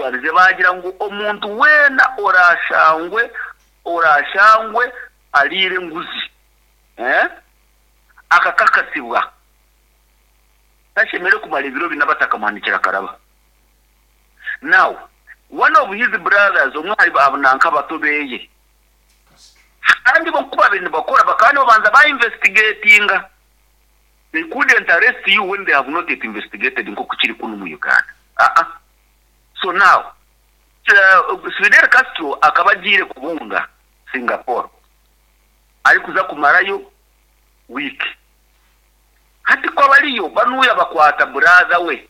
Turwanize baagira ngu omuntu weena oraashangwe oraashangwe ariire enguzi eh akakakasibwa tashemereire kumara ebiro bina batakamuhanikire akaraba. Now one of his brothers omwe ahari ba nanka abato beye kandi bo ku babaire nibakora bakaba nibabanza ba investigatinga they couldn't arrest you when they have not yet investigated nkoku kiri kunu omu Uganda aa so now Fidel Castro akaba agiire kubunga Singapore arikuza kumarayo week hati ku abariyo banuya bakwata brother we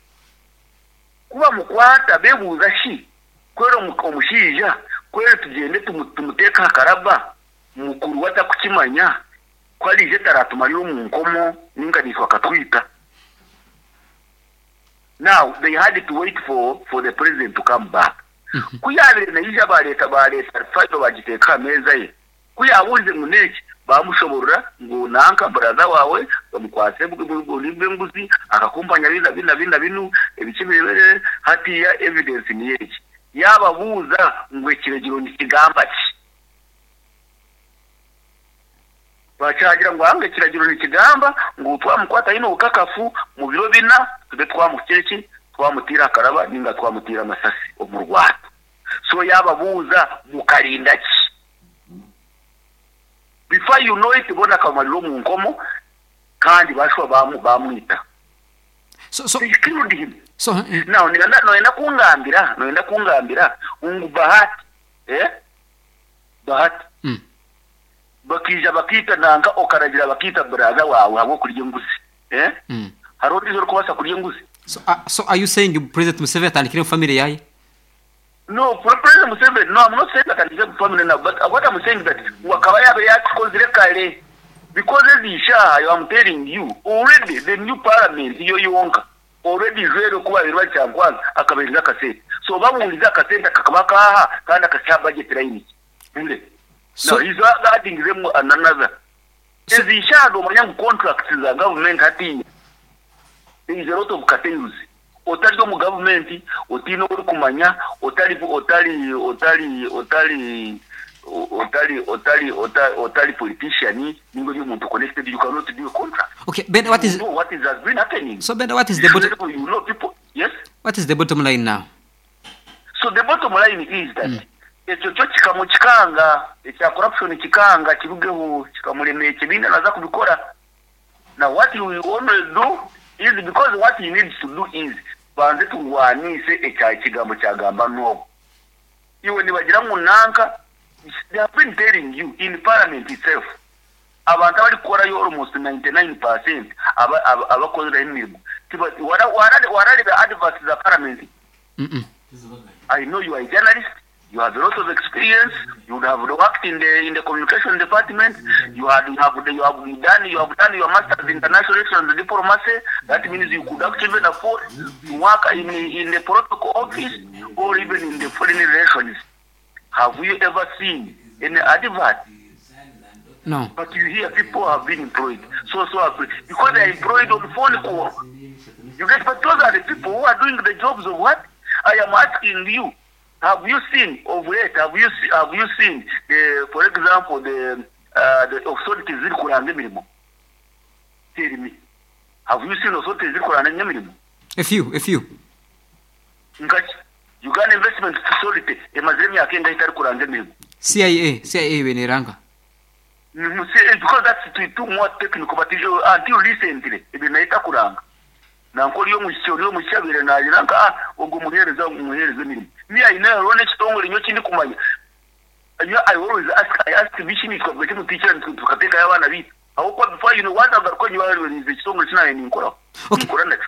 Ku bamukwata bebuuza shi, Kweri omushaija kweri tugyende tumuteeke aha karaba, mukuru we atakukimanya, ku araije taratumarira omu nkomo ninga naitwe akatwita? Now they had to wait for for the president to come back. Ku yaabaire naija baareeta baareeta file baagiteeka aha meeza ye. Ku yaabuurize ngu n'enki, baamushoborora ngu nanka brother waawe bamukwatse oburi bw'enguzi, akakumpanya bi na bi na bi na binu, ebiki biri hatiiya evidence niyo egi. Yaababuuza ngu ekiragiro nikigamba ki? Bakyagira ngu anga ekiragiro nikigamba ngu twamukwata aine obukakafu, mu biro bina tube twamuhikire ki? Twamutiire aha karaba ninga twamutiire amasasi omu rwato. So yaababuuza mukarinda ki? Before you know it bona akabamarira omu nkomo kandi bashuba bamwita. So, so, They killed him. so, eh, Now noyenda noyenda kungambira noyenda kungambira ngu Bahati eh Bahati bakaija bakaita nanka okaragira bakaita brother waawe ahabw'okurya enguzi eh hariho ondiijo orikubaasa kurya enguzi? So, uh, so are you saying President Museveni atandikire omu family yaye? No, President Museveni, no, I'm not saying that atandikire omu family now, but what I'm saying that ngu akaba yaabaire yaakikozire kare because ezi shaaha I'm telling you already the new parliament yo yonka already ijwere oku baabaire bari Kyankwanzi akabaheereza akasente. So babuurize akasente kakaba akaaha kandi akakye aha budget line ki? Bure. So, Now he's adding them another. so, Ezi shaaha noomanya ngu contracts za government hatiiya there is a lot of cartels. Otari omu gavumenti, otaine ou orikumanya, otari otari otari otari otari otari otari politician ninga ori omuntu connected you cannot do a contract. Okay, Ben, what You is know what is has been happening. so Ben, what is the bottom You know people, yes? what is the bottom line now? So the bottom line is that ekyo kyo kikamukikanga, ekya corruption kikanga kirugeho kikamurema ekibiina naza kubikora. Now what he will only do is because what he needs to do is tubanze turwanise ekya ekigambo kyagamba n'ogu. Iwe nibagira ngu nanka they have been telling you in parliament itself abantu abarikukorayo almost 99% aba aba abakoziraho emirimo tiba wara wara warareeba adverts za parliament? I know you are a journalist, you have a lot of experience, you would have worked in the in the communication department, you had you have you have done you have done your masters in international relations and diplomacy. That means you could actually even afford to work in in the protocol office or even in the foreign relations. Have you ever seen any advert? No. But you hear people have been employed. So so have because they are employed on phone call. You get but those are the people who are doing the jobs of what? I am asking you, have you seen of late, have you have you seen the for example the the authorities zirikuranga emirimo? Tell me. Have you seen authorities zirikuranga emirimo? A few, a few. Nkaki? Uganda Investment Authority emazire emyaka engahi etarikuranga emirimo? CIA, CIA ebe neranga. Because that's too, too more technical but until recently ebyo nayo etakuranga. Nanka ori omwishiki ori omwishiki abaire naagira nka ah ogwo muheereza muheereza emirimo. Me I know hariho n'ekitongore nyowe ekindikumanya nyowe I always ask I ask bishi nitwe bweki mutwikira nitwe tukateekayo abaana baitu ahabw'okuba before you know waaza kugaruka nyowe hariho ekitongore eki naabaire ninkoraho Okay. ninkora nakyo.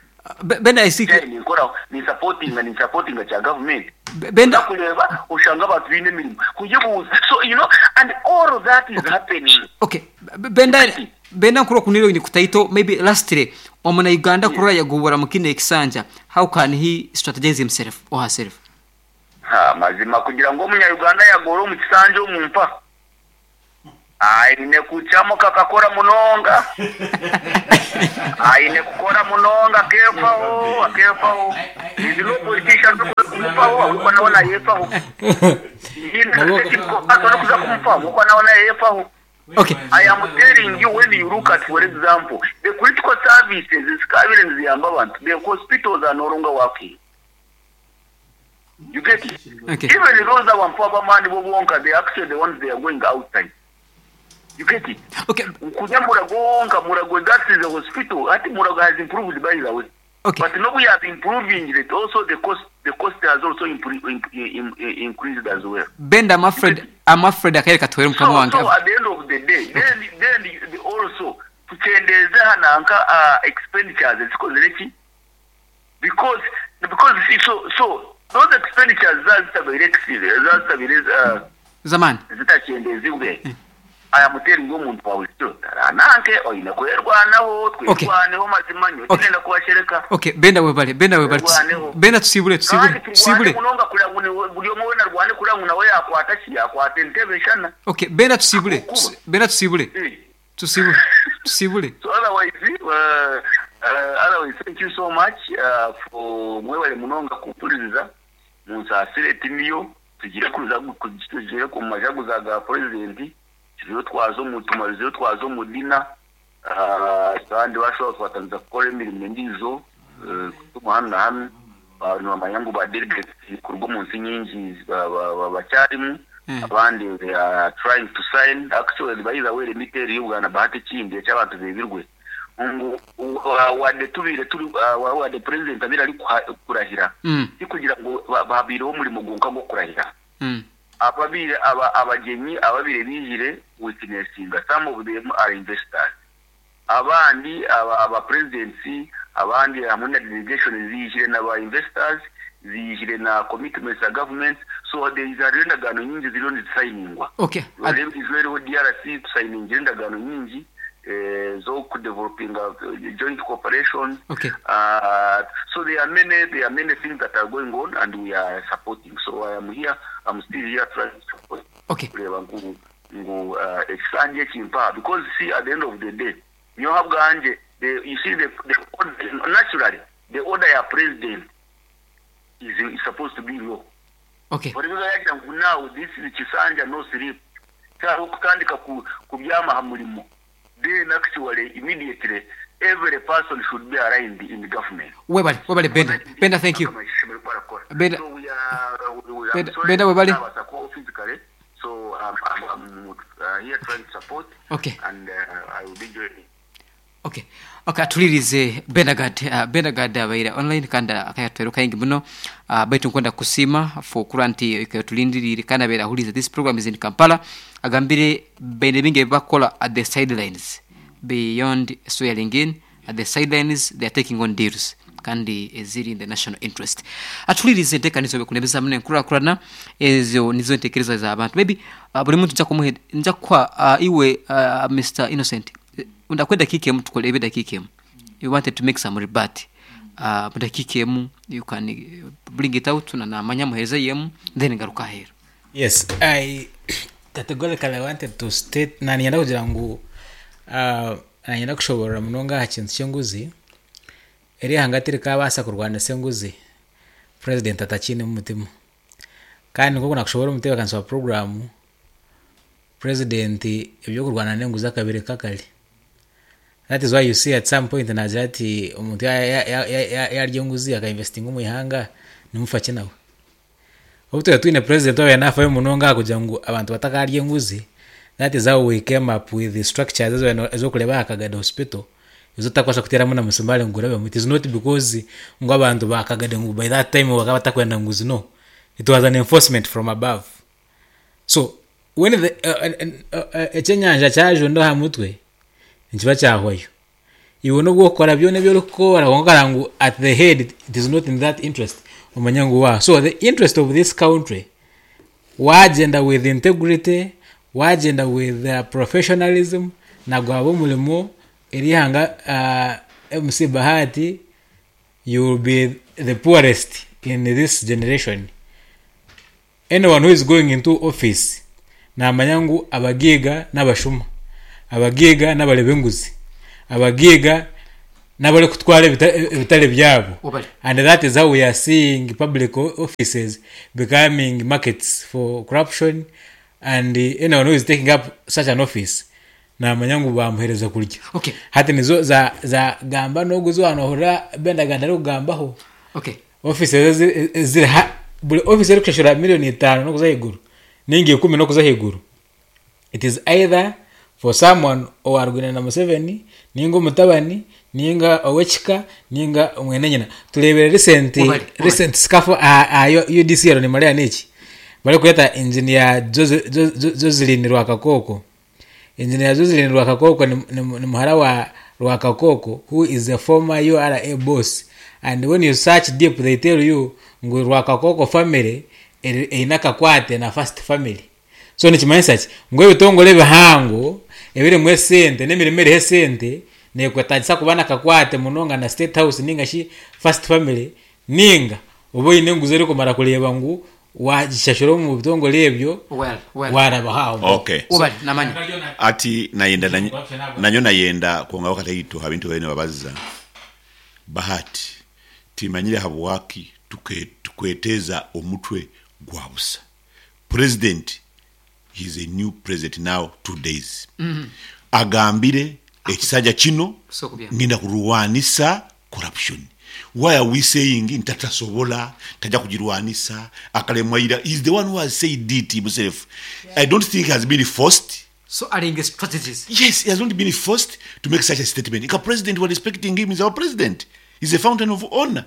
Ben I see Naabaire ninkoraho ninsapotinga ninsapotinga kya gavumenti. Benda Oza kureeba oshanga abantu baine emirimo kuyebuuza so you know and all that is happening. Okay, Benda Benda nkuru okunire oine kutaito maybe lastly omuna Uganda kurora yagobora mukino ekisanja how can he strategize himself or herself? Ha mazima kugira ngu omunya Uganda yagore omu kisanja omu mpa aine kukyamuka akakora munonga aine kukora munonga akefaho akefaho is no politician orikuza kumufaho. Nayefaho ahabw'okuba nawe nayefaho. Tihaine orikuza kumufaho ahabw'okuba nawe nayefaho. Okay. I am telling you when you look at for example the critical services ezikaabaire niziyamba abantu the hospitals are no longer working. You get it? Okay. Even those abantu ab'amaani bo bonka they actually the ones they are going outside. You get it? Okay. Kuza Murago wonka Murago that is a hospital hati Murago has improved by the way. Okay. But nobu yaaba improvingire it also the cost the cost has also increased as well. Benda I'm afraid I'm afraid akaire katuhwere mukama So, wange. so at the end of the day then then the also tukyendeeze aha nanka uh, expenditures ezikozire ki because because see so so those expenditures zaaba zitabaire zaaba zitabaire uh, Zamani. zitakyendezibwe I am telling you omuntu wa bulijo tarananke oine kwerwanaho Okay. twerwaneho mazima nyowe Okay. tinenda kubashereka Okay, Benda webale, Benda webale. Twerwaneho. Benda tusibule, tusibule, kandi turwane tusibule. munonga kureba ngu niwe- buri omwe weena arwane kureba ngu nawe yakwata ki yakwata entebe eshana Okay, Benda tusibule. Ahabw'okuba Benda tusibule. Eh. Tusibule. Tusibule. So otherwise, otherwise thank you so much for mwebale munonga kumpuririza munsaasire tiniyo tugire kuza tugire omu majaguza ga president turiyo twaza omu tumarizeyo twaza omu dina kandi bashobora twatandika kukora emirimo endiijo kutuma hanu na hanu nibamanya ngu ba delegates kuruga omu nsi nyingi bakyarimu abandi they are trying to sign actually by the way let me tell you bwana Bahati ekindi eki abantu bebirwe ngu wadde tubaire turi wadde president abaire ari kurahira tikugira ngu habaireho omurimo gwonka gw'okurahira ababaire aba abagyenyi ababaire baijire witnessinga some of them are investors abandi aba aba presidents abandi hamwe na delegation ziijire na ba investors ziijire na commitments za government so there is hariho endagaano nyingi ziriyo nizisayiningwa Okay. Noreeba endiijo eriho DRC tusayiningire endagaano nyingi ez'okudevelopinga joint cooperation Okay. So there are many there are many things that are going on and we are supporting so I am here I'm still here trying to support Okay. kureeba ngu ngu ekisanja eki mpaha because see at the end of the day nyowe ahabwangye the you see the, the order, naturally the order ya president is, is supposed to be law Okay. Burimu yagira ngu now this is kisanja no sleep tihariho kutandika kubyama aha murimo then actually immediately every person should be aligned in government. Webale, webale Benda. Benda thank you. Benda So we are, we, I'm Benda, sorry, Benda webale. naabaasa kubaho physically so I'm, I'm, I'm here trying to support Okay. and I will be joining. Okay. Okay, atulirize Benagad. Benagad abaire online kandi akayatwera kaingi muno. Baitu nkwenda kusiima for kura nti tulindiriire kandi abaire ahurize this program is in Kampala. Agambire baine bingi ebibakukola at the sidelines beyond swearing in at the sidelines they are taking on deals kandi eziri in the national interest. Atulirize enteekaniza obekunebeza muno enkurakurana ezo nizo entekereza z'abantu. Maybe buri muntu nja kumuha nja kukuha iwe Mister Innocent Ndakuha edakiika emu tukore ebe edakiika emu. You wanted to make some rebut. Mu dakiika emu you can bring it out na namanya muhereze emu then ngaruke aheeru. Yes, I categorically wanted to state naninyenda kugira ngu nanyenda kushoborora munonga aha kintu ky'enguzi eri ihanga tirikabaasa kurwanisa enguzi president atakiine omu mutima kandi nk'oku nakushoborora omu mutebeekanisa wa puroguraamu Purezidenti eby'okurwana n'enguzi akabireka kare. That is why you see at some point naagira ati omuntu yaarya enguzi aka investinga omu ihanga nimufa ki nawe. Obu twaba twine purezidenti owaabaire naafayo munonga aha kugira ngu abantu batakaarya enguzi, that is how we came up with the structures ez'okureeba aha Kagadi hospital ezi otarikubaasa kuteeramu na musimaari ngu gurabemu. It is not because ngu abantu ba Kagadi ngu by that time bakaba batakwenda nguzi no, it was an enforcement from above. So when the ekyenyanja kyajunda aha mutwe nikiba kyahwayo. Iwe nobu okukora byona ebi orikukora kwonka okareba ngu at the head it is not in that interest omanye ngu waa. So the interest of this country wagyenda with integrity, wagyenda with professionalism na gwaba omurimo eri ihanga MC Bahati you will be the poorest in this generation. Anyone who is going into office namanya ngu abagaiga nabashuma, abagaiga nabareba enguzi, abagaiga. N'abarikutwara ebitare byabo Wabare. and that is how we are seeing public offices becoming markets for corruption and anyone who is taking up such an office namanya ngu bamuhereza kurya. Okay. Hati nizo za za gamba n'ogu ezi waaba nohurira Bendaganda arikugambaho. Okay. Office ezo eziri ha buri office erikushashura million itaano n'okuza ahaiguru ninga ikumi n'okuza ahaiguru It is either for someone owarwine na Museveni ninga omutabani ninga owekika ninga mwene nyina. Turebire recent Wabare, wabare. recent scuffle aha aha UDC nimureeba neki? Barikweta engineer Jose Jo Joseline Rwakakoko. Engineer Joseline Rwakakoko ni ni ni muhara wa Rwakakoko who is a former URA boss and when you search deep they tell you ngu Rwakakoko family eri eine akakwate na first family. So nikimanyisa ki? Ngu ebitongore ebihango ebirimu esente n'emirimo eriho esente neekwetaagisa kuba n'akakwate munonga na State House ninga shi First Family ninga obe oine enguzi erikumara kureeba ngu waagishashura omu bitongore ebyo Well, well. waarabaho aho mpaho. Okay. So Webale namanya. Ati nayenda nanyo nayenda kwongaho kataito ha bintu ebi nibabaza. Bahati, timanyire habwaki tukweteza omutwe gwa busa. President he is a new president now 2 days agambire ekisajja kino ngenda kurwanisa corruption why are we saying nti tatasobola taja kugirwanisa akalemwa ira he is the one who has said it himself I don't think he has been forced So aringa strategies. Yes, he has not been forced to make such a statement. Nka president, we are respecting him, he's our president. He's a fountain of honor.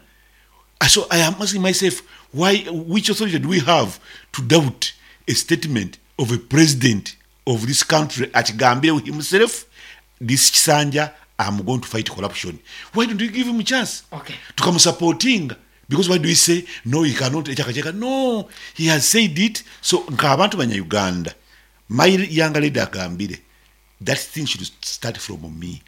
So I am asking myself, why, which authority do we have to doubt a statement of a president of this country akigambire himself, this kisanja, I'm going to fight corruption. Why don't we give him a chance? Okay. Tukamusupportinga. Because why do we say, no, he cannot, echakacheka? No, he has said it. So, nka abantu banya Uganda, my younger lady agambire, that thing should start from me.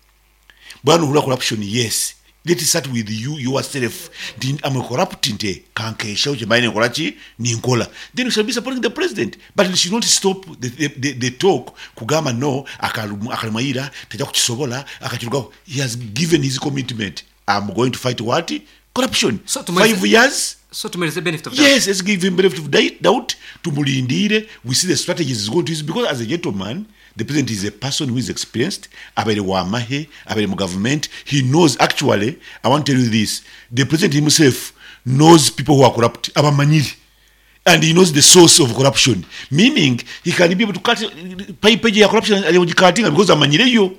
Bwana ohurira corruption yes let it start with you yourself nti am a corrupt nti kankeshaho kyembaire ninkora ki ninkora then you shall be supporting the president but it should not stop the, the, the, the talk kugamba no akalemwa ira taja kukisobola akakirugaho he has given his commitment am going to fight what corruption So tumalize- 5 years So tumalize benefit of doubt. Yes, let's give him benefit of doubt. Tumulindire. We see the strategies he's going to use because as a gentleman, the president is a person who is experienced. Abaire wa mahe, abaire mu government. He knows actually, I want to tell you this, the president himself knows people who are corrupt. Abamanyiri. And he knows the source of corruption. Meaning, he can be able to cut pipe ya corruption because amanyireyo.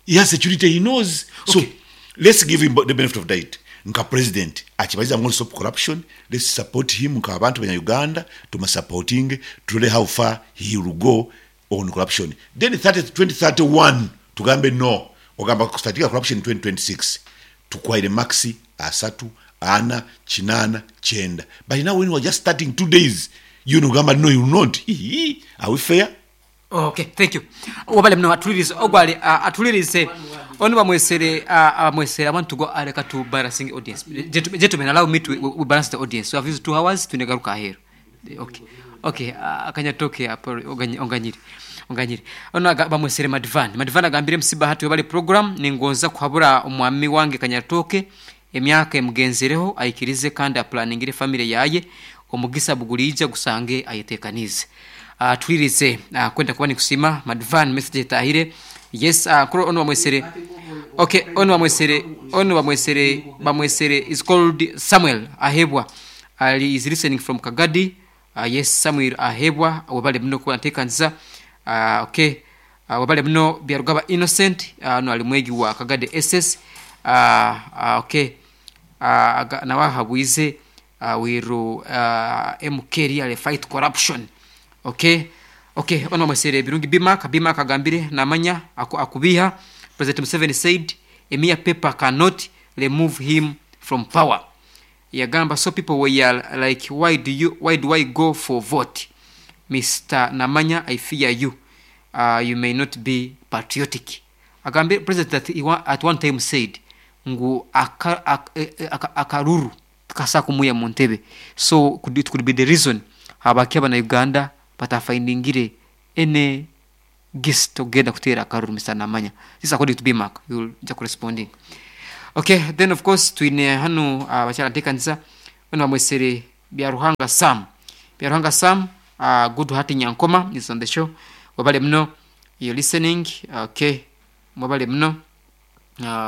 He has security, he knows. So Okay. let's give him the benefit of doubt. Nka president akibaize I'm going to stop corruption. Let's support him nka abantu banya Uganda tumusupporting turole how far he will go on corruption. Then 30, 2031 tugambe no ogamba kustatika corruption 2026 tukwaire maxi asatu ana chinana chenda but now when we are just starting 2 days you know gamba no you will not. Hii, are we fair? Okay, thank you. Wabale muno atulirize ogwali atulirize onu bamwesere bamwesere. I want to go aleka to balancing audience. Gentlemen, gentlemen, allow me to we balance the audience. So I've used 2 hours tunegaruka aheru. Okay, akanyatoke apo onganyire onganyire ono bamwesere Madvan. Madvan agambire musiba hati webale program ningonza kuhabura omwami wange Kanyatoke emyaka emugenzereho aikirize kandi aplaningire family yaye omugisa bugulija gusange ayetekanize. Twirize kwenda kuba nikusima Madvan message etahire. Yes, kuro ono bamwesere. Okay, ono bamwesere ono bamwesere bamwesere is called Samuel Ahebwa. Ali is listening from Kagadi. Yes, Samuel Ahebwa, wabale muno kuba ntekanisa. Okay, wabale muno Byarugaba Innocent, no ali mwegi wa Kagadi SS. Okay, nawe ahabwize wiru MK really fight corruption. Okay, ono bamwesere Birungi Bimak. Bimak agambire namanya akubiha President Museveni said a mere paper cannot remove him from power. Yagamba so people were like, why do I go for vote? Mr Namanya, I fear you, you may not be patriotic. Agambire president that he at one time said ngu akaruru kasa kumuya mu ntebe. So it could be the reason habaki abana Uganda batafindingire any gist ogenda kuteera akaruru. Mr Namanya, this according to Bimak, you'll just corresponding. Okay, then of course twine hanu abakyara ntekanisa bano bamwesere Byaruhanga Sam. Byaruhanga Sam, good heart Nyankoma is on the show. Wabale muno, you listening. Okay, mwabale muno.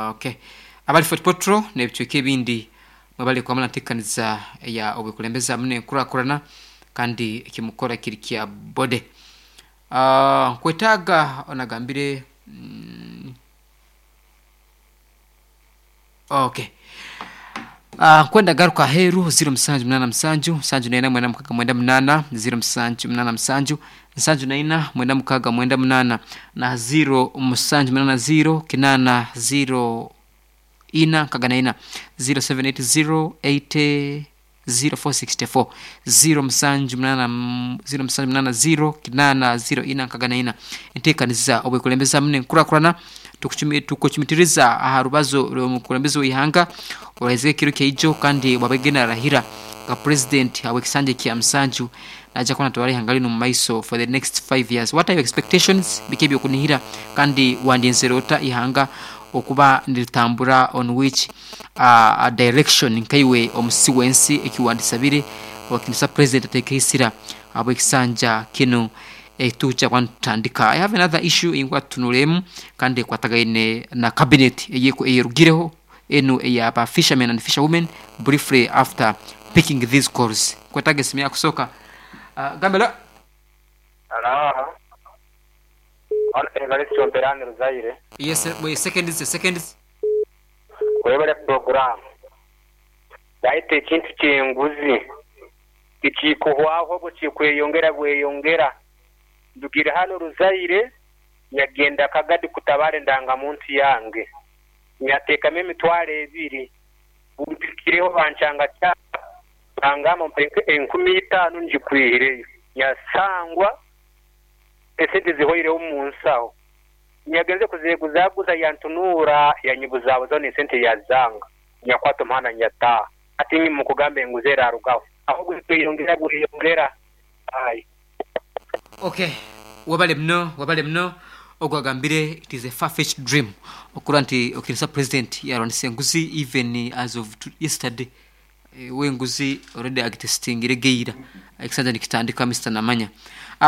Okay, abali Fort Potro n'ebicweka ebindi mwabale kwamala ntekanisa ya obukulembeza muno enkurakurana kandi ekimukora kiri kya bode. Nkwetaaga onagambire okay. Nkwenda garuka aheeru 0787 74 96 98 0 0784 96 98 na 0780 80 ina nkaga na ina 0780 80 0464 0780 0780 80 ina nkaga na ina. Enteekaniza obwekulembeza mune nkurakurana tukuchumitiriza aha rubazo rw'omukulembeze w'ihanga oraheze ekiro kyaijo kandi wabegena arahira nga president awekisanje kya musanju naja kuba natwara ihanga lino mu maiso for the next 5 years. What are your expectations? Biki ebyokunihira kandi wandyenzere ota ihanga okuba niritambura on which direction nkaiwe omusi w'ensi ekiwandisabire wakinisa president atekeisira abwekisanja kino etuja kwantandika. I have another issue ingwa tunulemu kandi ekwatagaine na cabinet eyerugireho enu eyaba fishermen and fisherwomen briefly after picking these calls. Kwetaga esimu yakusoka. Gambela. Hello. Evariste Omperani Ruzaire. Yes, wait, seconds, seconds. Webale program. Baita ekintu ky'enguzi tikikuhwaho bwe kikweyongera bweyongera. Ndugira hano Ruzaire nyagenda Kagadi kutabara endangamuntu yange. Nyateekamu emitwaro ebiri. Bumpikireho bankyanga kyapa bangamba mpa 5,000 ngikwihireyo. Nyasangwa esente zihoireho omu nsaho. Nyagenze kuzeeguzaguza yantunuura yanyibuzabuzaho n'esente yazanga. Nyakwata omuhanda nyataaha. Hati nyine mukugamba enguzi erarugaho. Ahobwe kweyongera bweyongera. Aye. Okay, wabale muno, wabale muno. Ogwagambire it is a far-fetched dream okura nti okinisa president yarwanisa enguzi even as of yesterday. Wenguzi already agitestingire geira ekisanja nikitandika Mr. Namanya.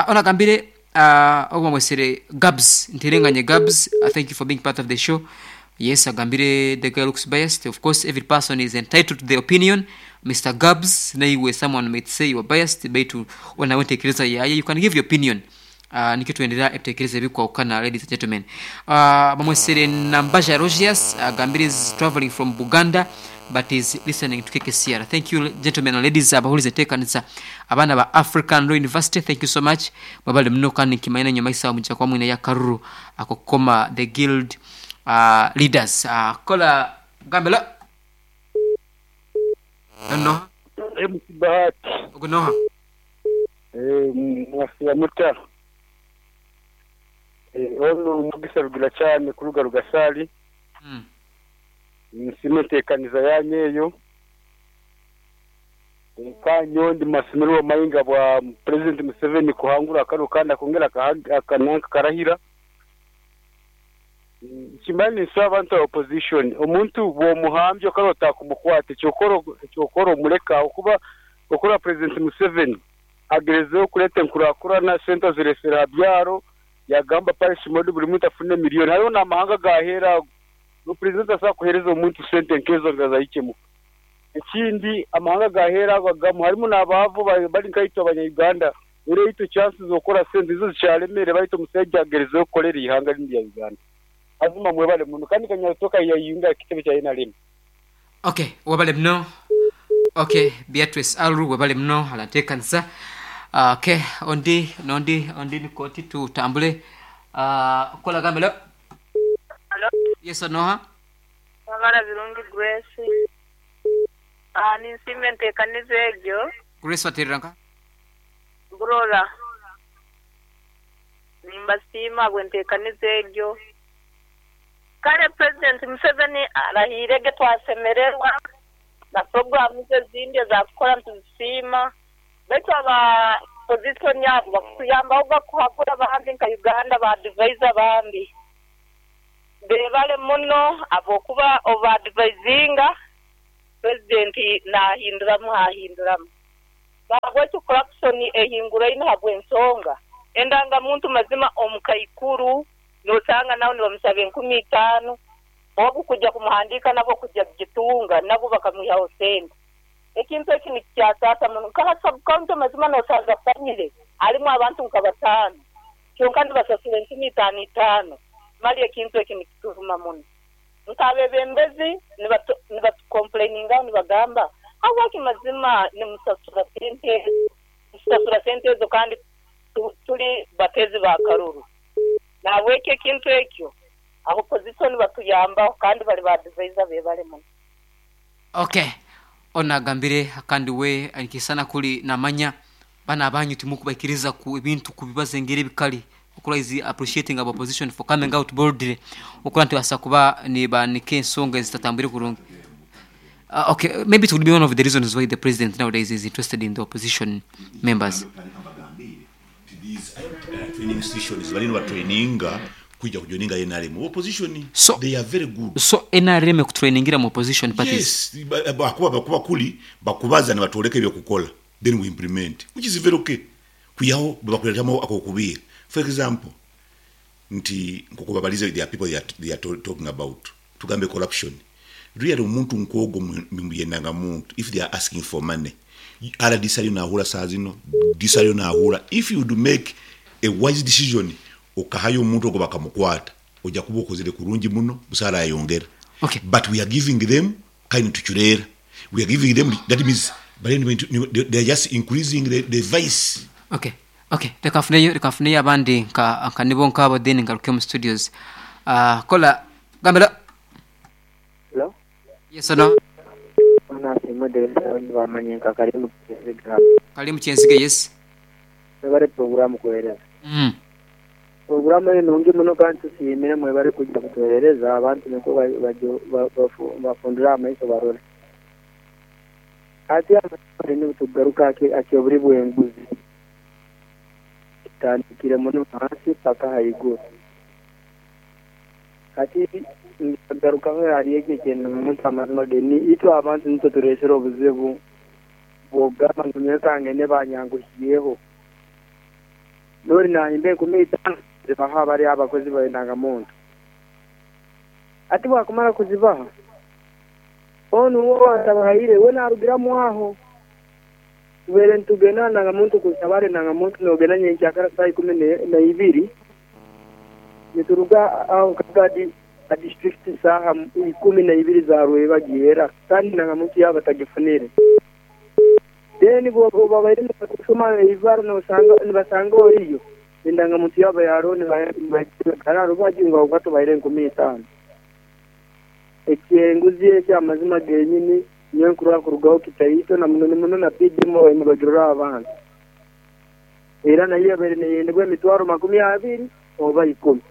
Onagambire ogwamwesere Gabs ntirenganye Gabs, thank you for being part of the show. Yes, agambire the girl looks biased. Of course every person is entitled to their opinion. Mr. Gabs naiwe someone might say you are biased baitu wanawetekereza yaya you can give your opinion. Nikyo tuendelea ebitekerezo ebikwawukana ladies and gentlemen. Bamwesere Nambaja Rogias agambire is traveling from Buganda but is listening to KKCR. Thank you gentlemen and ladies abahulize enteekanisa abaana ba African Law University, thank you so much. Mwebale muno kandi nkimaine nyuma isawa mujja kuba mwine ya karuru akokoma the guild leaders. Kola gambela no MC Bahati ogunoha mwasiya muta ono mugisa rugira cyane kuruga rugasali. Nsime ntekaniza yanyeyo kanyondi masomero mayinga bwa President Museveni kuhangura kano kandi akongera akananka karahira. Kimani nsaba abantu opposition omuntu bwomuhambyo karota kumukwate cyokoro muleka okuba okura President Museveni agerezeho kuleta nkurakurana senta ziresera byaro yagamba parish mode buri muntu afune miliyoni. Hariho n'amahanga gahera no president asa kuhereza omuntu sente nkezo ngazayikemuka. Ekindi amahanga gahera bagamu harimo n'abavu bari nkayitwa abanya-Uganda ure ito chances zokora sente izo zicyaremere barito musajja agerezeho kukorera ihanga rindi ya Uganda. Azuma mwebale muno kandi kanyatoka yayinga ekitebe kya NRM. Okay, wabale muno. Okay, Beatrice Alru wabale muno alatekanisa. Okay, ondi nondi ondi nikoti tutambule. Kola gambela. Hello. Yes Noha. Wabala birungi Grace. Ninsime ntekaniza egyo. Grace wateranka. Burora. Nimbasiima bwe ntekaniza egyo. Kale President Museveni arahirege twasemererwa na programu ze zindi ezakukora ntuzisiima. Baitu aba opposition yabo bakutuyambaho bakuhakura abandi nka Uganda ba advise abandi. Beebale muno ahabw'okuba obaadivaizinga Purezidenti naahinduramu haahinduramu. Nahabwekyo corruption ehinguraine ahabw'ensonga endangamuntu mazima omukaikuru nosanga nawe nibamusaba 5000 ogu kujya kumuhandiika nabwo kujya kugitunga nabwo bakamwihaho sente. Ekintu eki nikikyasaasa muno. Nka aha sub county mazima nosanga family harimu abantu nka bataano kyonka nibasasura 5000 itaano. Mali ekintu eki nikituruma muno. Nk'abebembezi nibatukompuleiningaho nibagamba, Habwaki mazima nimusasura sente ezo? Nitusasura sente ezo kandi turi batezi ba karuru. Nahabwekyo ekintu ekyo abopozisoni batuyambaho kandi bari ba adivaiza bebale muno. Okay, onu agambire kandi we nikisana kuri namanya banu abanyu timukubaikiriza ku ebintu kubibaza engeri ebikali okura is appreciating aba opposition for coming out boldly okura nti basa kuba nibanika ensonga ezitatambwire kurungi. Okay, maybe it would be one of the reasons why the president nowadays is interested in the opposition members. These training institutions bariyo nibatraininga kwija kujoininga NRM opposition. So, they are very good. So NRM ekutrainingira mu opposition parties? Yes, bakuba bakuba kuli bakubaza nibatworeka ebyokukora then we implement, which is very okay. Kwihaho bakuretamu akokubiira. For example, nti nkoku babalize there are people they are talking about tugambe corruption. Really omuntu nkwogo muyendanga muntu if they are asking for money. RDC ariyo nahura saa zino, DC ariyo nahura. If you would make a wise decision okahayo omuntu ogwo bakamukwata, oja kuba okozire kurungi muno, busa arayongera. Okay. But we are giving them kandi nitucureera. We are giving them, that means they are just increasing the vice. Okay. Okay. Reka nfuneyo, reka nfuneyo abandi nka nka nibo nk'abo then ngaruke omu studios. Kola gambira. Hello. Yes or no? Ono asiimwe Dereza abandi bamanye nka Kalimu Kyenzige. Kalimu Kyenzige yes. Mwebale puroguramu kuhereza. Puroguramu enu nungi muno kandi tusiimire mwebale kwija kutuherereza abantu nikwo bafundure amaiso barole. Hati amazima nigo tukugaruka aha ky'oburi bw'enguzi. Kitandikire muno ahansi paka ahaiguru. Hati nkagarukaho ahari ekyo eky'omuntu amazima ge ni itwe abantu nitwe tureesire obuzibu bw'okugamba ngu nyowe kangende banyanguhiireho. N'ori naahimba 5000 zibaha bari abakozi b'endangamuntu. Hati bwakumara kuzibaha, onu ou atabahaire we naarugiramu aho. Tubaire nitugenda aha ndangamuntu kushaba ahari endangamuntu noogenda nyenkyakara saaha ikumi na ibiri, nituruga aho nka aha disiturikiti saaha 12 za rwebagyo kandi endangamuntu yaaba batagifunire. Then bwoba babaire nibakushoma eibara nibashanga oriyo, endangamuntu yaaba yariho nibagira aha rubaju ngu ahabw'okuba tubahaire 5000. Eky'enguzi ekyo amazima genyini nyowe nkurora kurugaho kitaito na muno muno na PDM babaire nibagirora aha bantu. Era nayo ebaire neyendebwa emitwaro 20 oba ikumi.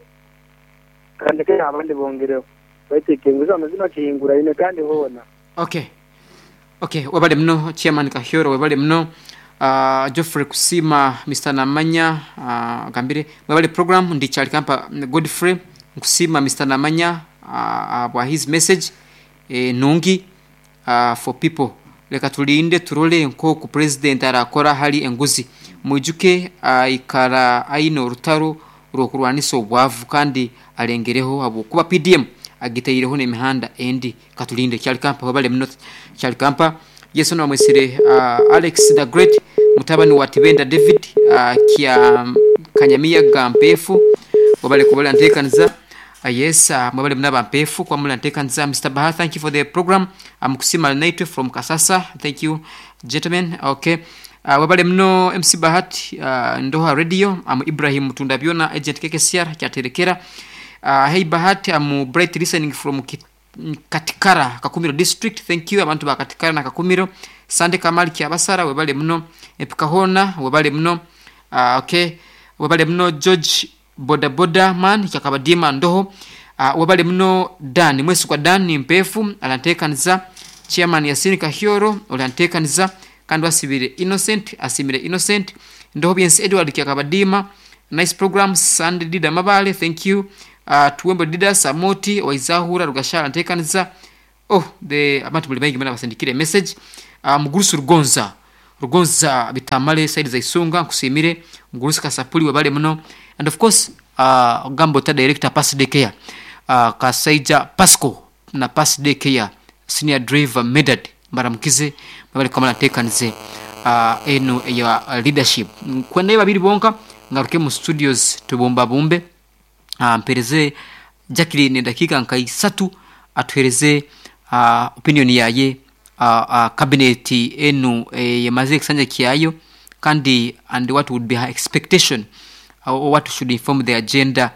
Kandi kare abandi bongereho. Baitu eky'enguzi amazima kihinguraine kandi hoona. Okay. Okay, webale muno Chairman Kahyoro, webale muno Geoffrey Kusiima, Mister Namanya agambire mwebale program ndi Kyalikampa Godfrey nkusiima Mister Namanya ahabwa his message nungi for people leka tulinde turole nkoku president arakora hali enguzi mwijuke aikara aine orutaro rw'okurwanisa obwavu kandi alengereho habwokuba PDM agitaireho n'emihanda endi katulinde Kyalikampa webale muno Kyalikampa Yesu nawamwesire Alex the Great mutabani wa Tibenda David kya Kanyamiyaga Mpeefu webale kuba ntekaniza. Yes, mwebale muno aba Mpeefu kuba muri ntekaniza. Mister Baha, thank you for the program. Amukusima naitwe from Kasasa. Thank you gentlemen. Okay. Webale muno MC Bahati Ndoha Radio. Am Ibrahim Mutunda Byona agent KKCR kyaterekera. Hey Bahati, I'm bright listening from Katikara, Kakumiro district. Thank you abantu ba Katikara na Kakumiro. Sande Kamali Kyabasara webale muno. Epikahona webale muno. Okay. Webale muno George Boda Boda man Kyakabadima Ndoho. Webale muno Dan Mwesigwa Dan Mpefu alantekaniza. Chairman Yasini Kahyoro olantekaniza. Kandi wasibire Innocent asimire Innocent. Ndoho Byensi Edward Kyakabadima. Nice program Sunday Dida Mabale, thank you. Tuwembo Didas Amoti Waizahura Rugashara ntekaniza. Oh, the abantu muli baingi mana basindikire message. Mugurusi Rugonza Rugonza bitamale side za Isunga, nkusimire Mugurusi Kasapuli wabale muno, and of course Gambo ta director Pass Daycare, Kasaija Pasco na Pass Daycare senior driver Medad mbaramukize babali kamala ntekanize eno ya leadership kwenda babiri bonka ngaruke mu studios tubumba bumbe. Mpereze Jacqueline dakika nka isatu atuhereze opinion yaye cabinet enu yamaze ekisanja kyayo kandi and what would be her expectation or what should inform the agenda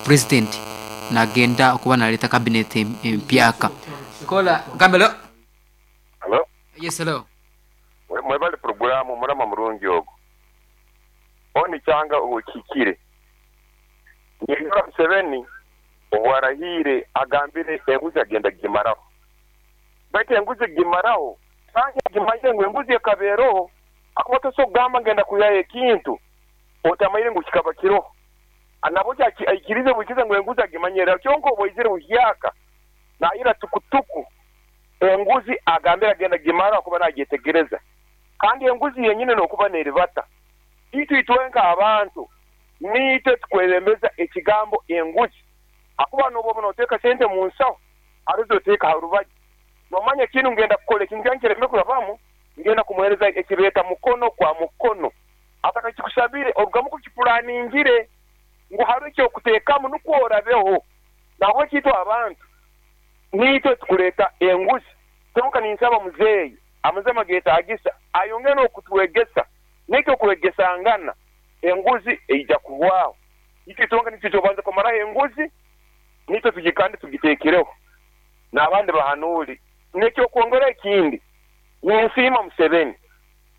president nagenda okuba naleta cabinet empyaka. Kola gambelo. Hello. Yes, hello. Mwebale puroguramu murama murungi ogwo. Hon Kyanga ohikire. Nindora Museveni obu arahiire agambire enguzi agenda kugimaraho. Baitu enguzi kugimaraho kandi agimanyire ngu enguzi ekaba eroho ahakuba tosobola kugamba ngenda kwihayo ekintu otamanyire ngu kikaba kiroho. Nabwo aikirize bwikiriza ngu enguzi agimanyire kyonka obu aizire buhyaka nayira tukutuku enguzi agambire agenda kugimaraho ahakuba nagyetegereza. Kandi enguzi yenyine nokuba neribata. Itwe itwenka abantu niitwe tukwebembeza ekigambo enguzi ahakuba noba oba noteeka sente mu nsaho harizo oteeka aha rubaju. Nomanya kinu ngenda kukora ekintu kyange kireme kurabamu ngenda kumuhereza ekibeeta mukono kwa mukono. Atakakikusabire orugamu kukipulaningire ngu hariho ekyokuteekamu nukwo orabeho. Nahabweki itwe abantu niitwe tukureeta enguzi. Kyonka ninsaba muzeeyi amazima getagisa ayongere nokutwegesa naitwe okwegesangana enguzi eija kuhwaho. Itwe twonka nitwe tubanza kumaraho enguzi nitwe tugikande tugiteekereho n'abandi bahanuuri. N'ekyokwongeraho ekindi ninsiima Museveni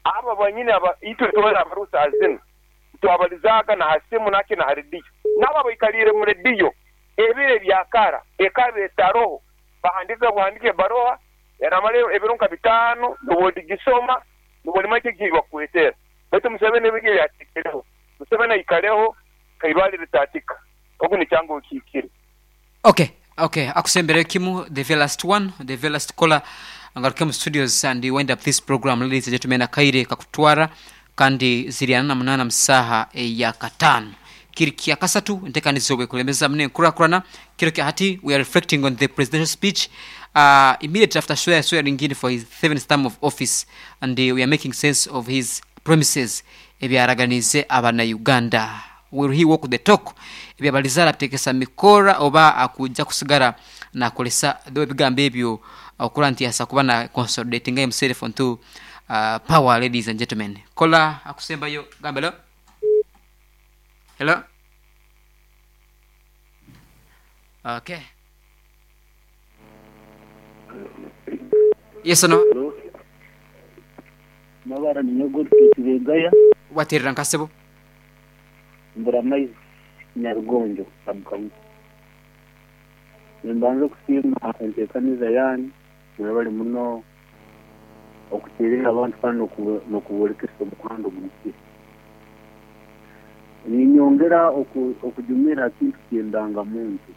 abo banyini aba itwe twena abariho saaha zinu titwabalizaaga na ha simu naki na ha rediyo. N'abo abaikaliire mu rediyo ebiro ebya kara ekaba etaroho bahandiika buhandiika ebaroha eramara ebiro nka bitaano nobu odigisoma nobu olimanya eki bakukwetera. Baitu Museveni ebyo yateekereho. Museveni aikareho nk'eibaare eritaatika. Ogu ni Kyanga okiikire. Okay, okay, akusembereyo kimu, the very last one, the very last caller, ngaruke mu studios and wind up this program. Ladies and gentlemen, akaire kakutwara kandi ziri ana na munaana mu saaha eya kataano. Kiri kya kasatu, enteekaniza obu ekulemeza muno enkurakurana. Kiro kya hati, we are reflecting on the presidential speech immediately after swearing in for his seventh term of office and we are making sense of his promises ebyaraganiize abana-Uganda. Will he walk the talk? Ebyabalize arabitekesa mu mikora oba akuja kusigara nakoresa though ebigambo ebyo okura nti asa kuba na consolidatinga himself onto power ladies and gentlemen. Kola akusembayo gamba hello. Hello. Okay. Yes or no? Mabara ninyowe Godfrey Tibegaya. Waterera nka sebo. Mburamaizi Nyarugonjo sub-county. Nimbanza okusiima enteekaniza yaanyu mwebare muno okuteerera abantu kandi n'okuborekesa omuhanda oguhikire. Ninyongera okujumira aha kintu ky'endangamuntu.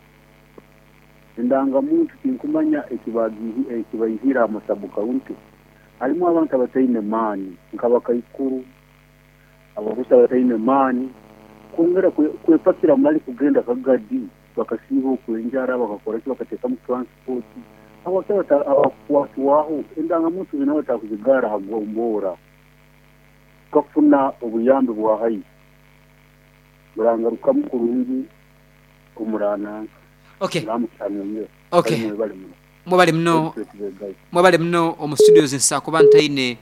Endangamuntu tinkumanya ekibaihire aha masabu-kaunti. Harimu abantu abataine maani nk'abakaikuru, abagusa abataine maani kwongera kwepakira mali kugenda Kagadi bakasiiba okwo enjara bakakora ki bakateekamu transport. Habwaki abakukwatwaho endangamuntu zinu batakuzigaara aha gomboora kukafuna obuyambi bwa haihi? Murangarukamu kurungi omurananka. Okay. Muramukyanyongera. Okay. Kale mwebale muno. Mwebale muno. Godfrey Tibegaya. Mwebale muno omu studios nsa kuba ntaine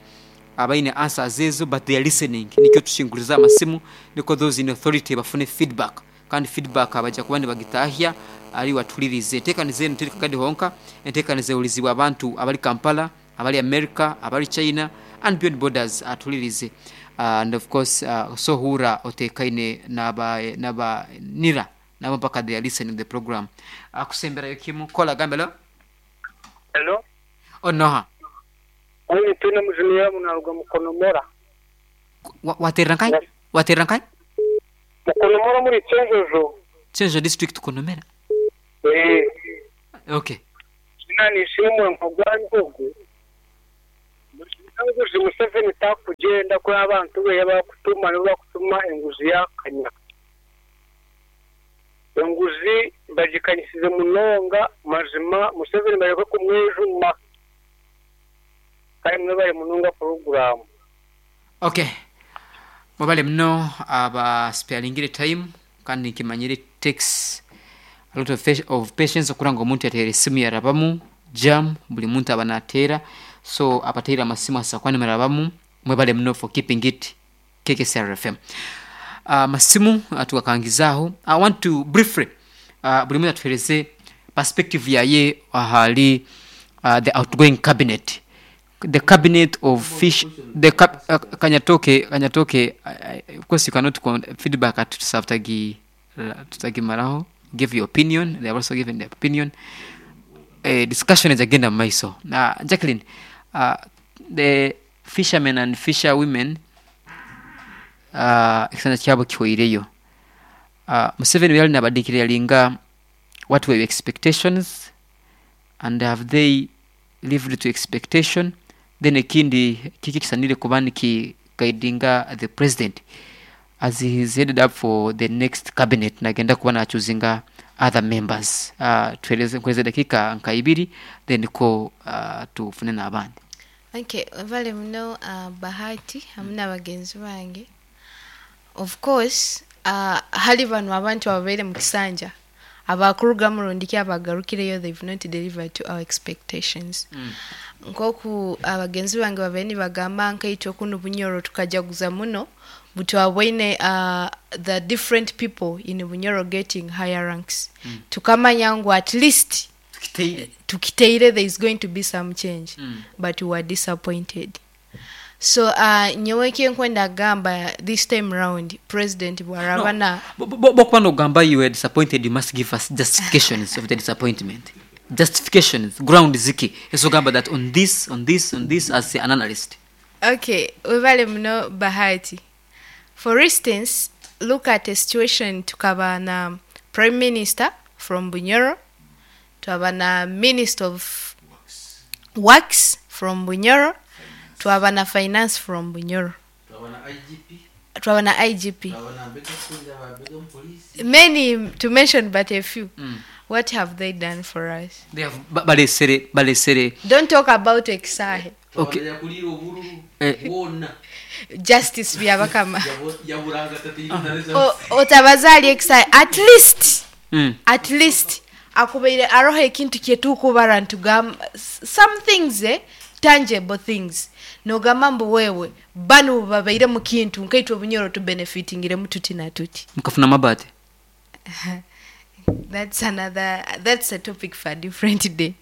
abaine answers ezo but they are listening nikyo tushinguriza amasimu nikwo those in authority bafune feedback kandi feedback baija kuba nibagitahya ari watuhuririize. Enteekaniza enu teri Kagadi honka, enteekaniza ehurizibwa abantu abari Kampala, abari America, abari China and beyond borders atuhuririize and of course so hurra oteekaine naba naba nira nabo mpaka they are listening the program. Akusemberayo kimu kola gamba hello. Hello. Onoha? Ogu Twine Mujuni Yoabu naaruga Mukonomora. Wateerera nkahi? Wateerera nkahi? Mukonomora omuri Kyenjojo. Kyenjojo district Konomera. Eeh. Okay. Zoona nishimwe nk'ogwanyu ogwo. Enguzi Museveni takugyenda kuri abantu be abakutuma nibo bakutuma enguzi yakanya. Enguzi bagikanyisize munonga mazima Museveni bareke kumwejuma. Kare mwebare munonga puroguramu. Okay. Mwebale muno aba sparingire time kandi nkimanyire it takes a lot of, of patience okura ngu omuntu yateera esimu yarabamu jam buli muntu aba nateera so abateire amasimu asa kuba nimurabamu mwebale muno for keeping it KKCR FM. Amasimu tugakangizaaho I want to briefly buri muntu atuhereze perspective yaye ahari the outgoing cabinet the cabinet of fish the cap, kanyatoke kanyatoke of course you cannot feedback ati tutagi tutagimaraho give your opinion they have also given their opinion eh, discussion ezagenda mu maiso Jacqueline the fishermen and fisher women ekisanja kyabo kihweireyo Museveni obu yali naba declaringa what were your expectations and have they lived to expectation then ekindi kiki ekisanire kuba niki guidinga the president as he is headed up for the next cabinet nagenda kuba nachuzinga other members tuhereze nkuhereze edakika nka ibiri then ko tufune nabandi. Okay, webale muno Bahati hamu nabagenzi bange. Of course hali banu abantu ababaire mukisanja abakurugamu rundi ki abagarukireyo they've not delivered to our expectations. Nkoku abagenzi bange babaire nibagamba nkaitwe kunu Bunyoro tukajaguza muno butwaboine the different people in Bunyoro getting higher ranks. Tukamanya ngu at least tukiteire there is going to be some change but we were disappointed. So nyowe ekinkwenda kugamba this time round president bwaraba na. Bwokuba nogamba you were disappointed you must give us justifications of the disappointment. Justifications, grounds ki ezogamba that on this, on this, on this as an analyst. Okay, webale muno Bahati. For instance, look at a situation tukaba na Prime Minister from Bunyoro, twaba na Minister of Works from Bunyoro, twaba na Finance from Bunyoro, twaba na IGP, many to mention but a few. What have they done for us? They have balesere balesere. Don't talk about ekisaahe. Okay. Eh. Justice Byabakama. Otabaza ahari ekisaahe at least at least akubaire aroho ekintu kyetukubara nitugamba some things eh tangible things nogamba mbu wewe banu obubabaire mukintu nkaitwe obunyoro tubenefitingiremu tuti na tuti. Mukafuna amabati? That's another that's a topic for a different day.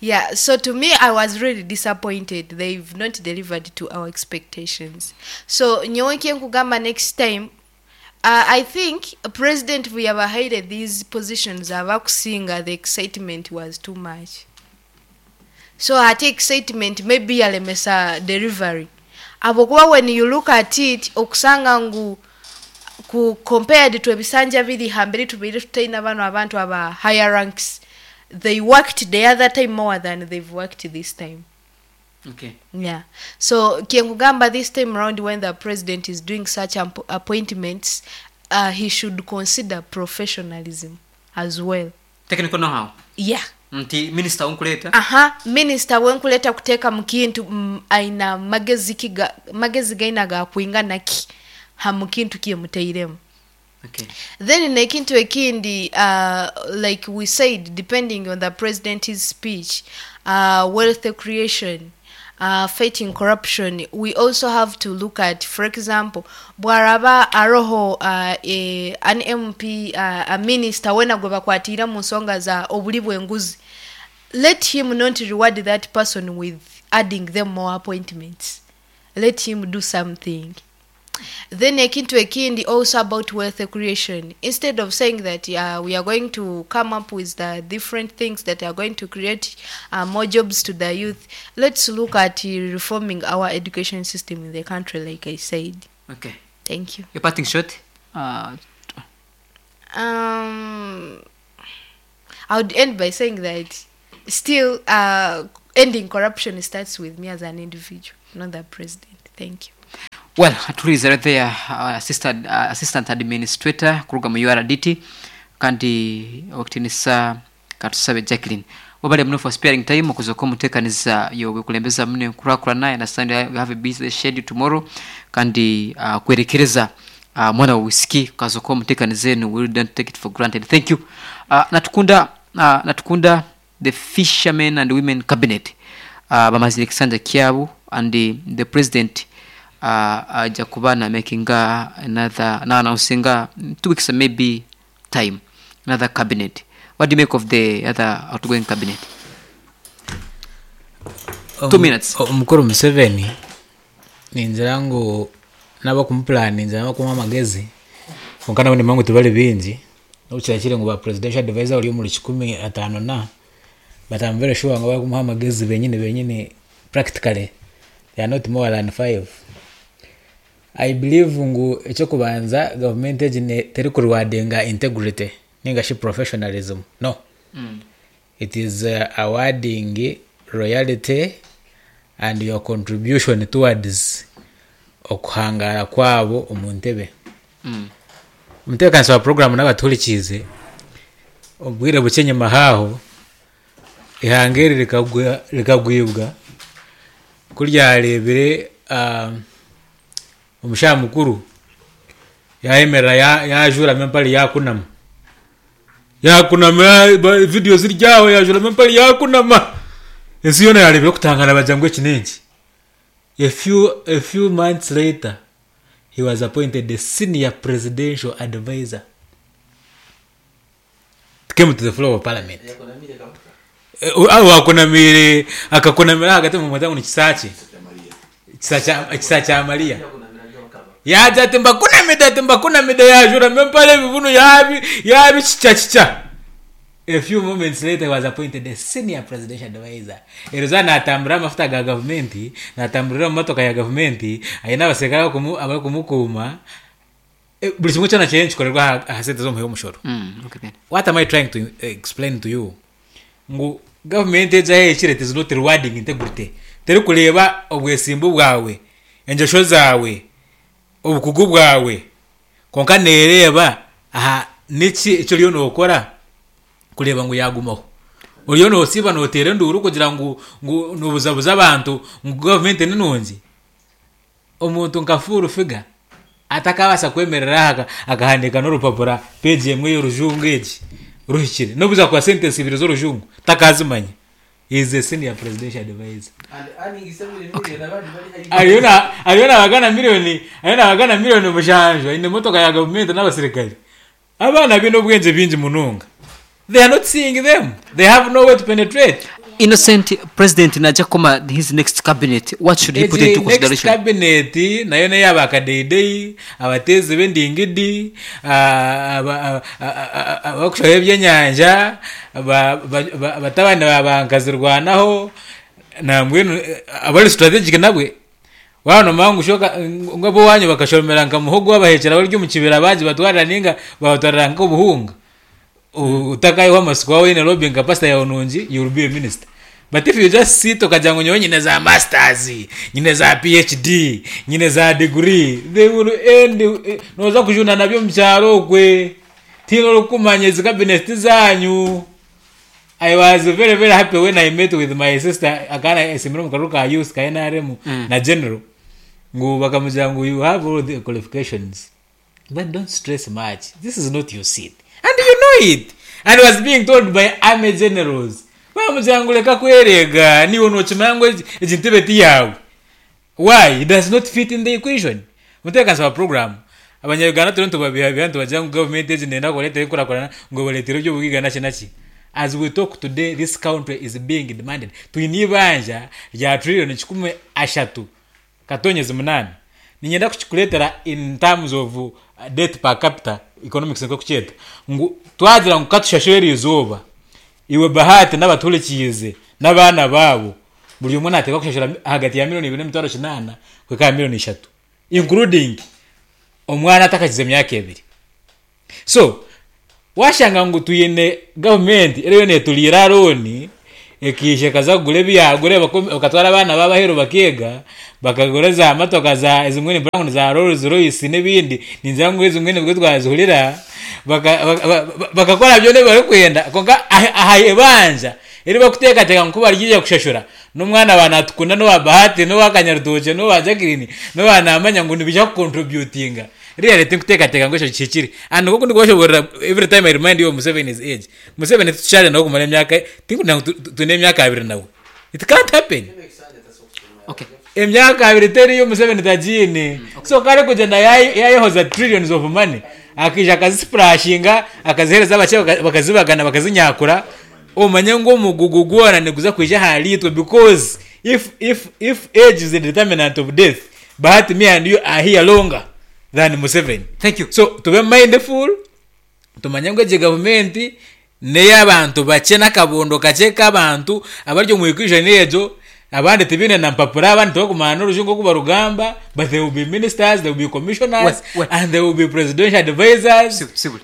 Yeah, so to me I was really disappointed. They've not delivered to our expectations. So nyowe kyenkugamba next time I think president buyabahaire these positions abakusinga the excitement was too much. So hati excitement maybe yalemesa delivery habwokuba when you look at it okusanga ngu ku compared to ebisanja biri hamberi tubaire tutaine banu abantu aba higher ranks they worked the other time more than they've worked this time. Okay. Yeah. So kyenkugamba this time round when the president is doing such appointments he should consider professionalism as well. Technical know how. Yeah. Nti minister wonkuleeta. Aha, minister wenkuleeta kuteeka mukintu aina magezi ki magezi gaina gakwingana ki ha mukintu kyemutairemu. Okay. Then nekintu ekindi like we said depending on the president's speech wealth creation fighting corruption we also have to look at for example bwaraba aroho an MP a minister wena gwebakwatiire omunsonga za oburi bwenguzi let him not reward that person with adding them more appointments let him do something Then ekintu ekindi also about wealth creation instead of saying that we are going to come up with the different things that are going to create more jobs to the youth let's look at reforming our education system in the country like I said. Okay. Thank you. Your parting shot. I would end by saying that still ending corruption starts with me as an individual, not the president. Thank you. Well, atuhuriize right there assistant, assistant administrator kuruga mu URDT kandi owekitiinisa Katusabe Jacqueline. Webale muno for sparing time okuza omutekaniza yobukulembeza muno enkurakurana. I understand you have a busy schedule tomorrow kandi kwerekereza mwana wa wisiki kaza omutekaniza enu, we don't take it for granted. Thank you. Natukunda natukunda the fishermen and women cabinet bamazire ekisanja kyabo and the president aja kuba na makinga another na announcinga 2 weeks maybe time another cabinet. What do you make of the other outgoing cabinet? 2 minutes. Omukuru Museveni ningira ngu n'abakumupulaninze n'abakumuha amagezi, kwonka nabo nimanya ngu tibari baingi, n'obu kirabe kiri ngu ba presidential advisor bari omuri kikumi ataano na, but I'm very sure ngu abarikumuha amagezi benyini benyini practically they are not more than five. I believe ngu eky'okubanza gavumenti egi terikurewardinga integrity ninga shi professionalism, no. It is awarding royalty and your contribution towards okuhangara kwabo omu ntebe. Omutebeekanisa wa puroguraamu n'abatuhurikiize, obwire bukye enyima haaho, eihanga eri rikagwibwa ku ryareebire omushaija mukuru yaayemerera yaajuuramu empare yaakunama. Yaakunama vidiyo ziri aho yaajuuramu empare yaakunama. Ensi yoona yaareebire okutangaara bagira ngu eki n'enki? A few months later, he was appointed the senior presidential advisor. It came to the floor of parliament. Wakunamiire akakunamira ahagati mumweta ngu ni Kisaakye. Ekisa kya Mariya. Yaagira ati mbakunamide ati mbakunamide yaajuramu empare ebibunu yaabi yaabikikya A few moments later he was appointed a senior presidential advisor. Eriizooba naatambura amafuta ga gavumenti, naatamburira omu motoka ya gavumenti, aine abaserukare abarikumukuuma, buri kimwe kyona kiriyo nikikorerwa aha sente z'omuhi w'omushoro. What am I trying to explain to you? Ngu gavumenti egi ahu ehikire it is not rewarding integrity. Terikureeba obwesimbu bwawe, engyesho zaawe, obukugu bwawe, kwonka neereeba aha niki eki oriyo nookora kureeba ngu yaagumaho. Oriyo noosiiba nooteera enduuru kugira ngu ngu noobuzabuza abantu ngu gavumenti ni nungi. Omuntu nka full figure atakabaasa kwemerera aha akahandiika n'orupapura peegi emwe y'orujungu egi ruhikire n'obu zaakuba sentensi ibiri z'orujungu takaazimanya. He is a senior presidential advisor. Ariyo na ariyo nabagana milioni ariyo nabagana milioni mushanju aine emotoka ya gavumenti n'abasirikare. Abaana baine obwengye bingi munonga. They are not seeing them. They have no way to penetrate. Innocent president naija kukoma his next cabinet what should he put Egi into next consideration? cabinet nayo neya bakadeyideyi, abateezi b'endingidi, abakushaho ebyenyanja, batabani ba bankazirwanaho, nambwenu abari strategic nabwe. Waaba noomanya ngu shi ngu ab'owaanyu bakashomera nka muhogo wabaheekyera bari omu kibira baagibatwarira nainga baabatwarira nk'obuhunga, otakaihaho amatsiko waaba oine lobbying capacity yaawe nungi, you will be a minister. But if you just sit okagira ngu nyowe nyine za masters, nyine za PhD, nyine za degree, they will end, nooza kujuna nabyo omu kyaro okwe, tihaine orikukumanya ezi cabinet tizaanyu. I was very very happy when I met with my sister akaba nayesimbire omu karuru ka youth ka NRM na general ngu bakamugira ngu you have all the qualifications but don't stress much this is not your seat and you know it and was being told by army generals bamugira ngu reka kwereega niiwe nokimanya ngu egi ntebe ti yaawe. Why? It does not fit in the equation. Omutebeekanisa wa puroguraamu, Abanya-Uganda turiyo nitubabihabiha nitubagira ngu gavumenti egi neeyenda kubareetera enkurakurana ngu ebareetere eby'obugaiga naki naki. As we talk today, this country is being demanded. Twine eibanja rya trillion 308. Niinyenda kukikureetera in terms of debt per capita, economics nikwo erikukyeta, ngu twagira ngu katushashure eriizooba, iwe Bahati n'abatuhurikiize n'abaana baabo, Buri omwe naateekwa kushashura ahagati ya milioni ibiri n'emitwaro kinaana kuhika aha milioni ishatu including omwana atakakize myaka ebiri. So, Waashanga ngu twine gavumenti eriyo neeturiira looni, ekaija ekaza kugura ebi yaagura bakatwara abaana baabo aheeru bakeega, bakagura za motoka za ezimwe nimpurira ngu ni za Rolls Royce n'ebindi, ningira ngu ezimwe nibwo twazihurira, bakakora byona ebi barikwenda kwonka aha ibanja eri barikuteekateeka ngu ku bariija kushashura, N'omwana wa Natukunda n'owa Bahati n'owa Kanyarutookye n'owa Jacqueline n'owa Namanya ngu nibaija ku contributinga. Really tinkuteekateeka ngu ekyo kihikire. And nk'oku ndikubashoboorora every time I remind you of Museveni's age. Museveni titukyari nawe kumara emyaka, tinkugira ngu twine emyaka abiri nawe. It can't happen. Okay. Emyaka abiri teriyo Museveni tagiine. So ku arikugyenda yaayehoza trillions of money, akaija akazisipurashinga, akaziheereza abakye bakazibagana bakazinyakura, Omanye ngu omugugu gwona niguza kwija ahariitwe because if if if age is a determinant of death Bahati me and you are here longer than Museveni. Thank you. So tube mindful tumanye ngu egi gavumenti n'eyabantu bakye n'akabondo kakye k'abantu abari omu equation egyo abandi tibaine na mpapura abandi tibakumanya n'orujungu oku barugamba but they will be ministers, they will be commissioners Well, well. and they will be presidential advisors. Sibuli.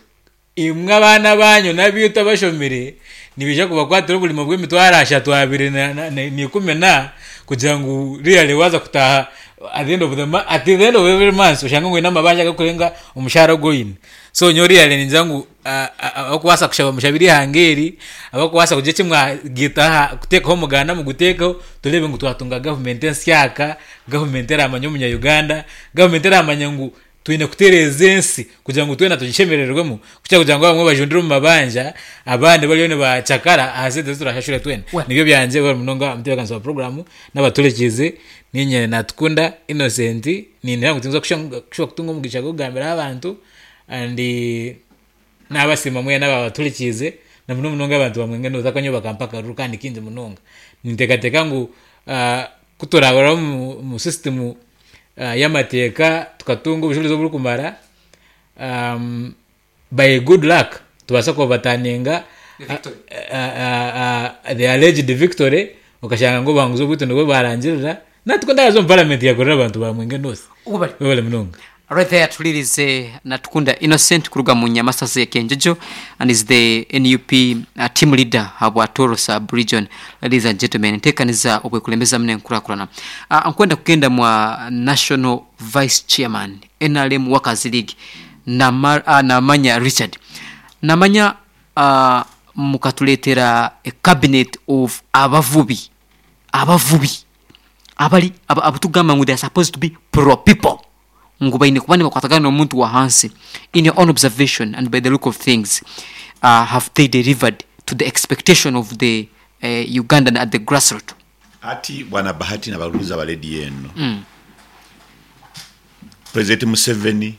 Imwe abaana baanyu n'abaitu abashomire, nibaija kubakwatira oburimo bw'emitwaro ashatu abiri na ikumi na, kugira ngu really waaza kutaaha at the end of the at the end of every month oshange ngu oine amabanja agarikurenga omushaara ogu oine. So nyowe really ningira ngu abarikubaasa kushaba mushabire eihanga eri, abarikubaasa kugira eki mwagiita aha kuteekaho omuganda muguteekeho, tureebe ngu twatunga gavumenti ensyaka, gavumenti eramanya omunya Uganda, gavumenti eramanya ngu Twine kutereeza ensi kugira ngu twena tugishemerererwemu kukira kugira ngu abamwe bajundire omu mabanja abandi bariyo nibacakara aha sente ezi turashashure twena. Nibyo byangye webare munonga omutebeekanisa wa puroguraamu n'abatuhurikiize. Niinye Natukunda Innocent nindeeba ngu tinza kushuba kutunga omugisha gw'okugambiraho abantu and nabasiima mwena ababatuhurikiize na muno munonga abantu ba Mwenge North ahabw'okuba nyowe bakampa akaruru kandi kaingi munonga. Ninteekateeka ngu ku turaahurira omu system y'amateeka tukatunga obujurizi oburikumara by good luck tubaasa kuobataninga the alleged victory okashanga ngu obuhanguzi obwitu nibwo bwarangirira natwe ndaza omu parliament yakorera abantu ba Mwenge North. Webale. Webale munonga. Right there tuhuririze Natukunda Innocent kuruga mu Nyamasazi ya Kyenjojo and is the NUP team leader habwa Toro sub region. Ladies and gentlemen, entekaniza obwekulembeza muno enkurakurana. Nkwenda kugenda mwa National Vice Chairman nrm Workers League Namanya Richard. Namanya mukatuletera a cabinet of abavubi, abavubi abari abutugamba ngu they are supposed to be pro people. Ngu baine kuba nibakwatagana n'omuntu wa hansi. In your own observation and by the look of things, have they delivered to the expectation of the Ugandan at the grassroot? Ati bwana Bahati na baruza ba lediyo eno, President Museveni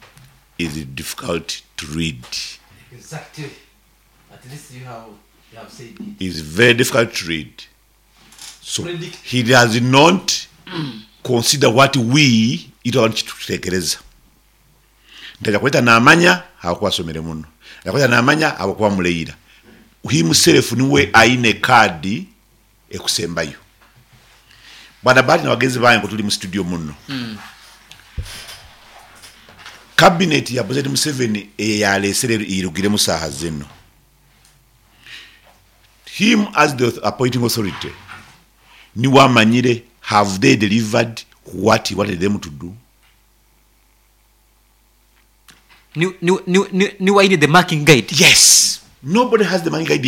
is difficult to read. Exactly. At least you have, you have said it. Is very difficult to read. So he does not consider what we itwe abantu kitutekereza. Nti aja kweta namanya ahabwokuba asomere muno. Aja kweta namanya ahabwokuba amureira. Himself niwe aine card ekusembayo. Bwana Bahati na bagenzi bange kutuli mu studio muno. Cabinet ya President Museveni eyalesere eirugiremu saaha zino. Him as the appointing authority niwe amanyire have they delivered what he wanted them to do? Niwe aine the marking guide. Yes, nobody has the marking guide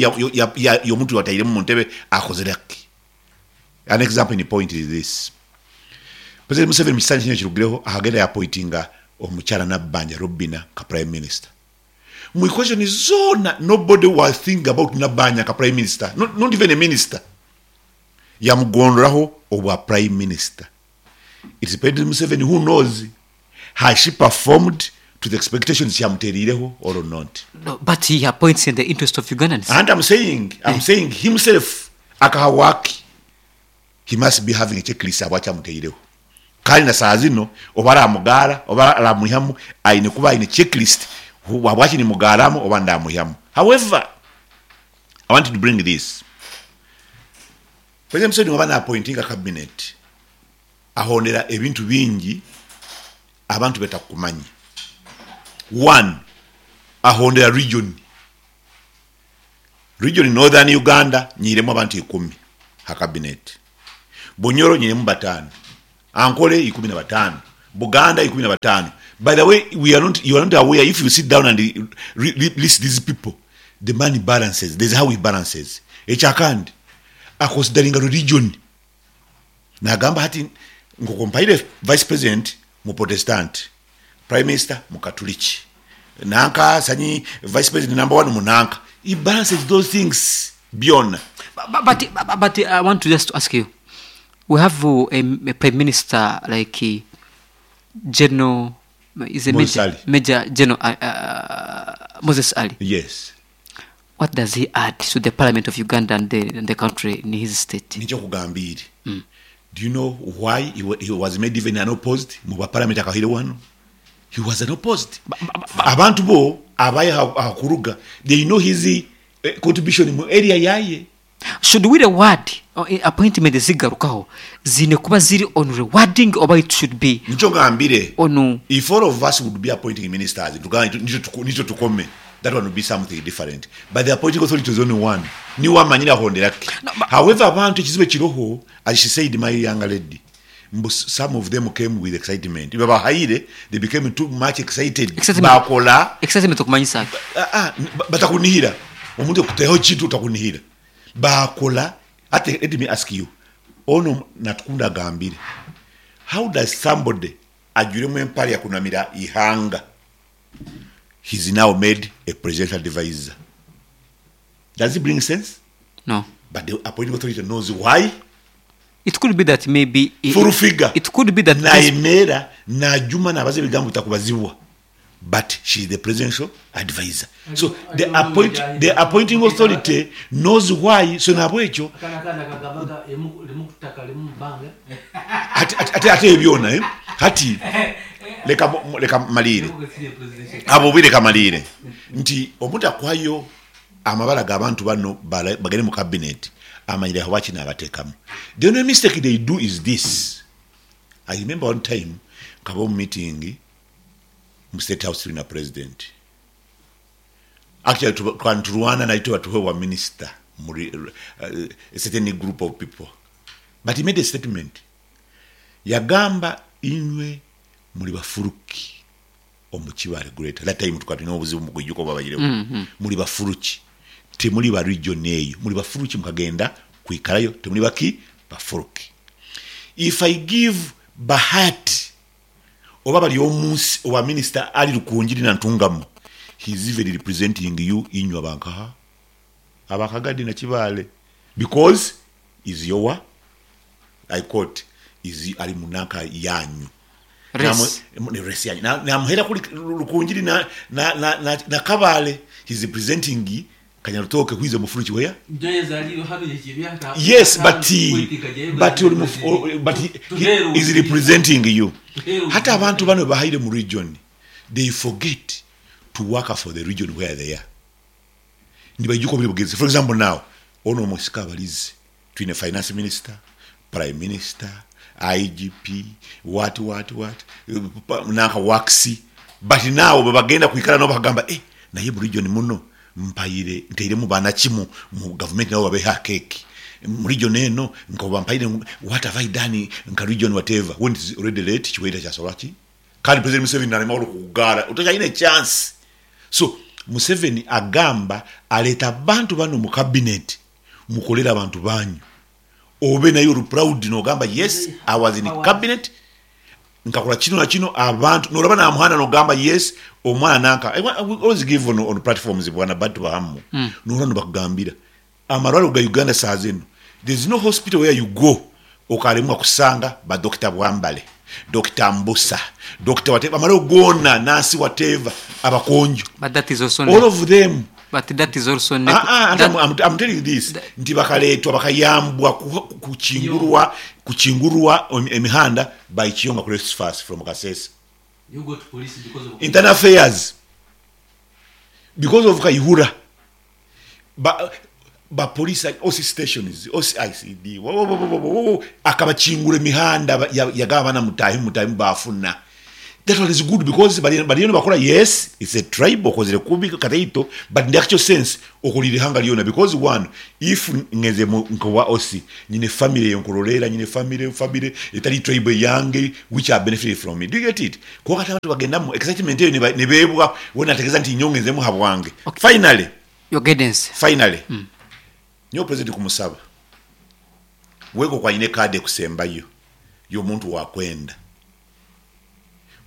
y'omuntu watairemu muntebe akozire ki? An example in point is this, President Museveni mukisanja kinu ekirugireho akagenda yapointinga omukyala Nabbanja Robina nka prime minister. Mu equation zoona nobody was thinking about Nabbanja nka prime minister, not, not even a minister. Yamugondoraho obwa prime minister. It's President Museveni who knows has she performed to the expectations kyamuteriireho or not. No, but he appoints in the interest of Ugandans. And I'm saying, I'm saying himself akaha waki he must be having a checklist ahabwaki amuteireho. Kandi na saaha zino oba aramugaara oba aramwihamu aine kuba aine checklist ahabwaki nimugaaramu oba ndamwihamu. However, I want to bring this. President Museveni waba napointinga cabinet ahondera ebintu bingi abantu betakumanya. One, ahondera region. Region Northern Uganda nyiiremu abantu ikumi ha cabinet. Bunyoro nyiiremu bataano. Ankole 15, Buganda 15. By the way, we are not, you are not aware if you sit down and list these people, the man balances, there's how he balances. Ekyakandi, akonsidaringa religion. Nagamba hati nk'oku mpaire Vice President mu Protestant, Prime Minister Mukatuliki, nanka sanyi Vice President number one munanka. He balances those things byona. But, but I want to just ask you, we have a prime minister like General is a Moses major, Ali. Major General Moses Ali. Yes. What does he add to the parliament of Uganda and the country in his state? Nikyo kugambiire. Do you know why he was made even unopposed mu bwa parliament akahire wano? He was unopposed. Abantu bo abaye hakuruga they know his contribution mu area yaye. Should we reward appointment zigarukaho zine kuba ziri on rewarding oba it should be Nikyo ngambire. On If all of us would be appointing ministers, nikyo tukome. That one would be something different. But the appointing authority is only one. Niwe amanyire ahonderake. However, abantu ekizibu ekiroho, as she said, my young lady, mbu some of them came with excitement. Babahaire, they became too much excited. Excitement. Bakola. Excitement okumanyisa ki? Batakunihira. Omuntu okuteho kintu otakunihira. Bakola. Ate, let me ask you. Ono natukunda agambire. How does somebody ajuremu empale yakunamira ihanga? He's now made a presidential advisor. Does it bring sense? No. But the appointing authority knows why. It could be that maybe Full figure. It could be that Naimera najuma nabaza ebigambo bitakubazibwa. But she's the presidential advisor. So the appointing authority knows why. So nabwekyo ate ebyona eh? Hati leka malire. Abo bwire kamalire. Nti omuntu akwayo amabala g'abantu bano bagende mu cabinet amanyire aho bakina abatekamu. The only mistake they do is this. I remember one time kabo meeting mu State House na president. Actually tulwana na ito watuwe wa minister muri a certain group of people. But he made a statement. Yagamba inywe muri bafuruki omukibale greater. That time tukatuna obuzibu mu kwijuko babayirewo. Muri bafuruki. Temuli ba region eyo. Muri bafuruki mukagenda kuikarayo temuli baki bafuruki. If I give Bahati oba bali omunsi oba minister ali Rukungiri na Ntungamo, he is even representing you inywa bankaha abakagadi na Kibale because is your, I quote, is ali munaka yanyu. Race. Namu, race yanyu. Namuhera kuli Rukungiri na Kabale, he is representing Kanyarutoke who is a mufuruki where? Yes, but he is representing you. Hata abantu bano bahaire mu region, they forget to work for the region where they are. Nibajuko buli bugezi. For example now, ono musika balizi, twine finance minister, prime minister, IGP, what, nanka waxi. But now babagenda kuikala no bagamba naye mu region muno mpaire nteiremu bana kimu mu government nabo babeha cake mu region eno nkoba mpaire what have I done nka region whatever when it is already late kiweta kya solaki kandi President Museveni nalema olukugara otokyalina chance. So Museveni agamba aleta abantu bano mu cabinet mukolera abantu banyu obe nayo olu proud nogamba yes I was in the cabinet nkakola kino na kino abantu nolaba na muhana nogamba yes omwana nanka I always give on platforms bwana bantu bahamu. Nolaba bakugambira amalwaliro ga Uganda saa zino there is no hospital where you go okalemwa kusanga ba Dr. Bwambale, Dr. Mbusa, Dr. whatever amalwaliro gona nasi whatever abakonjo. But that is also all of them. But that is also I'm telling you this nti bakaletwa bakayambwa kuchingurwa emihanda by Chiyonga Grace Fast from Kasese. You go to police because of internal affairs because of Kayihura. Ba police OC stations, OCICD, akabachingura emihanda yagaba na mutahi bafuna. That one is good because bariyo nibakora yes it's a tribe okozire kubi kataito but in the actual sense okorire ihanga ryona because one if ngeze nkowa OC nyine family eyenkurorera nyine family family etari tribe eyange which are benefited from it do you get it kwonka hati abantu bagendamu excitement eyo nibebwa we nategeza nti nyowe ngenzemu habwange finally Your guidance. Finally nyowe president kumusaba we nkoku ayine card ekusembayo yomuntu wakwenda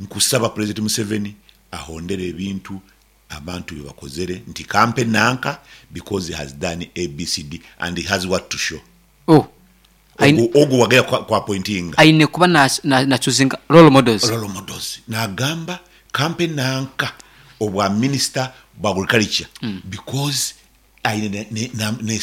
Nkusaba Pulezidenti Museveni ahondere ebintu abantu byebakozere nti kampe nanka because he has done ABCD and he has what to show. Oh, aine, Ogwo ogwo wagera kwa kwa appointinga. Aine kuba na na na choosinga role models. Role models. Nagamba kampe nanka obwa minister bwa agriculture because aine ne ne ne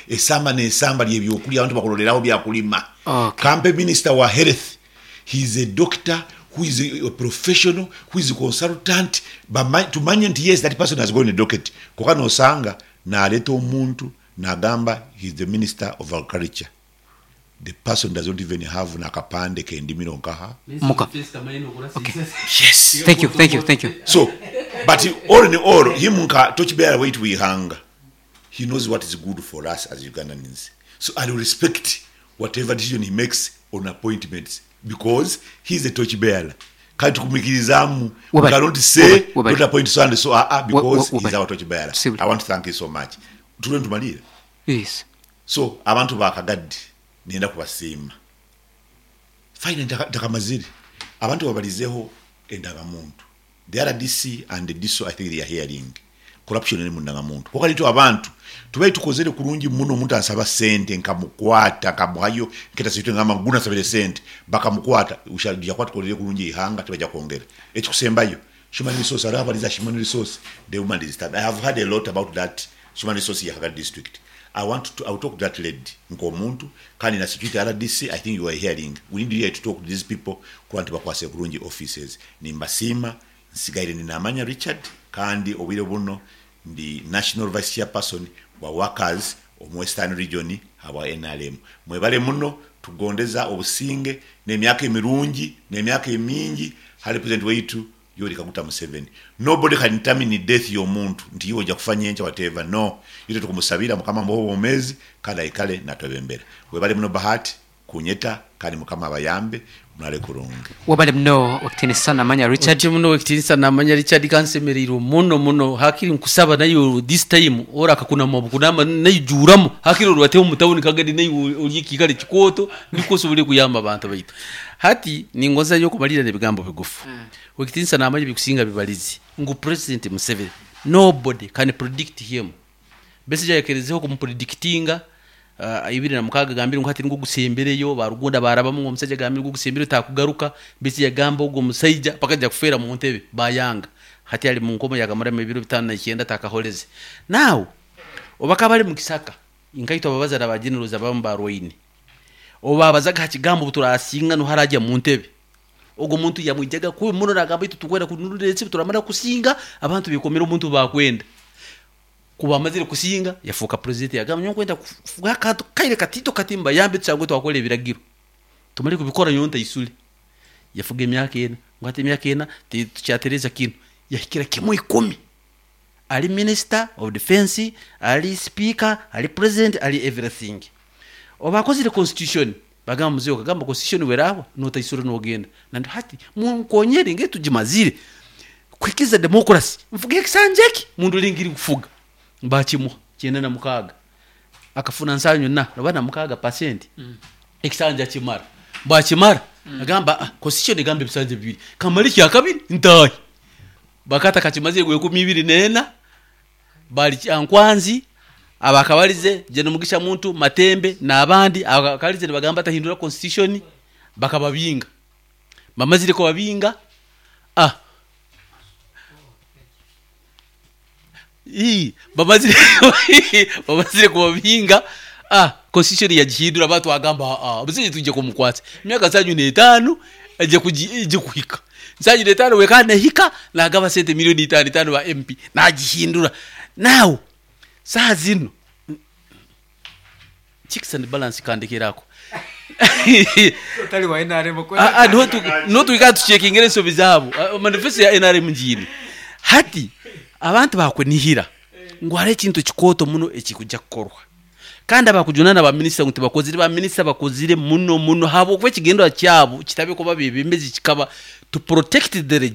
esamba nesamba lyebyokulya abantu bakuloleraho byakulima. Okay. Kampe minister wa health he is a doctor who is a professional who is a consultant tumanye nti yes that person has gone a docket konka nosanga naleta omuntu nagamba he is the minister of agriculture the person does not even have nakapande kendimiro nkaha Muka. Okay. Yes. Thank you, thank you, thank you. So, but all in all, him nka torchbearer waitu wihanga, he knows what is good for us as Ugandans. So I will respect whatever decision he makes on appointments because he is a torchbearer. Kale tukumikirizamu. We Webale. cannot say Webale. don't appoint so and so because he is Webale. our torchbearer. Sibuli. I want to thank you so much. Tube nitumalire. Yes. So abantu ba Kagadi nenda kubasiima. Finally ntakamazire. Abantu babalizeho endagamuntu. The RDC and the DISO I think they are hearing. Corruption eri mu ndagamuntu. Kwonka nitwe abantu tubaire tukozere kurungi muno omuntu ansaba sente nkamukwata nkamuhayo nketa sente ngamba ngu nasabire sente bakamukwata ushaija kuba tukorire kurungi eihanga tibaija kwongera. Ekikusembayo human resource hariho abariza human resource the woman is I have heard a lot about that human resource ya Kagadi district. I want to, I will talk to that lady nk'omuntu kandi na security RDC I think you are hearing we need here to talk to these people kuba nti bakwase kurungi offices. Nimbasiima nsigaire ndi Namanya Richard kandi obwire buno ndi National Vice Chairperson wa Workers omu Western Region habwa nrm. Mwebale muno tugondeza obusinge n'emyaka emirungi n'emyaka emingi hali President waitu Yoweri Kaguta Museveni. Nobody can determine death y'omuntu nti iwe oja kufa nyenkya whatever no. Itwe tukumusabira Mukama amuhe obwomezi kandi aikale natwebembera. Webale muno Bahati kunyeta kandi Mukama abayambe murare kurungi. Webale muno Owekitiinisa Namanya Richard. Otyo muno Owekitiinisa Namanya Richard kansemereirwe muno muno hakiri nkusaba naiwe this time orakakunama bukunama naijuuramu hakiri orubateho omu tawuni kagadi naiwe ori ekiikaro ekikooto nikwo osobole kuyamba abantu baitu. Hati ningonza nyowe kumalirra n'ebigambo bigufu. Owekitiinisa Namanya ebikusinga bibalize ngu President Museveni nobody can predict him. Besigye ayekerezeho kumupredictinga 2006 agambire ngu hati nigwo gusembereyo ba Rugunda barabamu ngu omusaija agambire ngu ogusembereyo takugaruka. Besigye yagamba ogu omusaija paka aija kufeera mu ntebe bayanga. Hati ari mu nkomo yakamaramu ebiro 59 atakahoreze. Now obu akaba ari mu kisaka nkaitwe ababazara ba generals abamu barwaine obu babazaga aha kigambo obu turasinga noha arajya mu ntebe ogwo muntu yamwijaga kubi muno nagamba itwe tukwenda kununura ensi turamara kusinga abantu bekomere omuntu bakwenda. Ku baamazire kusinga yafuuka purezidenti yagamba nyowe nkwenda kufuga akantu kaire katiito kati mbayambe tushangwe twakora ebiragiro tumare kubikora nyowe ntaisure. Yafuga emyaka ena ngu hati emyaka ena tukyatereeza kinu yahikira kimwe ikumi ari minister of defense ari speaker ari president ari everything. Obu akozire constitution bagamba muzei okagamba constitution werahwa notaisura nogenda nandi hati munkonyere nge tugimazire kuhikiza democracy nfuge ekisanja eki mundu ringiri kufuga bakimuha 96 akafuna nsanyu na oba na mukaaga percent ekisanja kimara bakimara agamba constitution egamba ebisanja bibiri kamara ekya kabiri ntahe bakata kakimazire gwe 24 bali Kyankwanzi abakabarize Gen Mugisha Muntu Matembe n'abandi abakabarize nibagamba atahindura constitution bakababinga bamazire kubabinga ii bamazire bamazire kubabinga constitution yagihindura batwagamba busije tuje kumukwatsa emyaka 75 aje kuji kuhika 75 weka nehika nagaba sente milioni itano itano ba MP nagihindura now saa zino checks and balance kandekerako Otari wa NRM Ah, ah, niho tu- niho twikara tuchekingire ensobi zaabo. Ah, manifesto ya NRM ngiine hati abantu bakunihira ngu hariho ekintu kikooto muno ekikujja kukorwa, kandi abakujunana baminisita ngu tibakozire, baminisita bakozire muno muno, habwokuba ekigendwa kyabo kitabe kuba bebembezi, kikaba to protect the regime.